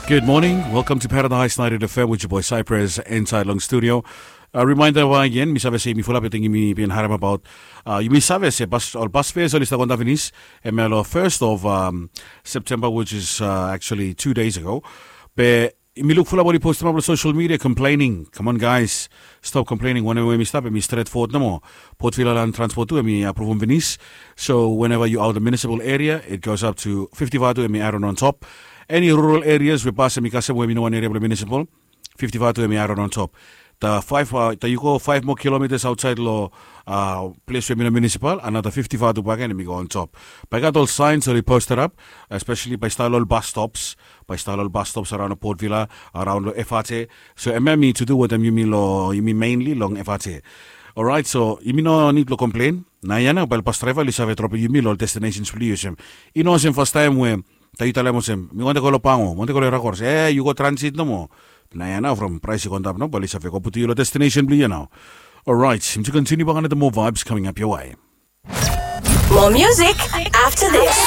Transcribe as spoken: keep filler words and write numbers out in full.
Good morning. Welcome to Paradise ninety-eight F M with your boy Cypress inside long studio. Uh, reminder why again, mi save se mi fulap, I think mi bin harem about. Uh, mi save se bas, ol bas fares oli stap go antap finis. Hemia lo first of um, September, which is uh, actually two days ago. Be mi luk fulap oli postim up lo social media complaining. Come on guys, stop complaining. Wanem we mi stap, hemi stret forward nomo. Port Vila Land Transport tu hemi apruvum finis. So whenever you out the municipal area, it goes up to fifty vatu, hemi added on top. Any rural areas we bas hemi kasem we hemi no wan eria blo municipal, fifty vatu hemi added on top. The five, uh, the you go five more kilometers outside lo uh, ples we hemi no municipal, another fifty vatu bakegen hemi go on top. Bae i gat ol signs oli posted up, especially bae i stap lo ol bus stops, bae i stap lo ol bus stops around lo Port Vila, around lo F R T. So hemia hemi to do wetem yumi lo, yumi mainly long F R T. Alright, so yumi no nid blo complain. Naoia nao bae ol bus driver oli save dropem yumi lo ol destinations blo yu olsem. I no olsem fastaem we taem yu talem olsem, mi wantem go lo Pango, mi wantem go lo Rakoros. E, yu go transit nomo. Naoia nao from praes i go antap nao, bae oli save go putum yu lo destination blo yu nao. Alright, mi tu continue bakegen wetem more vibes coming up your way. More music after this.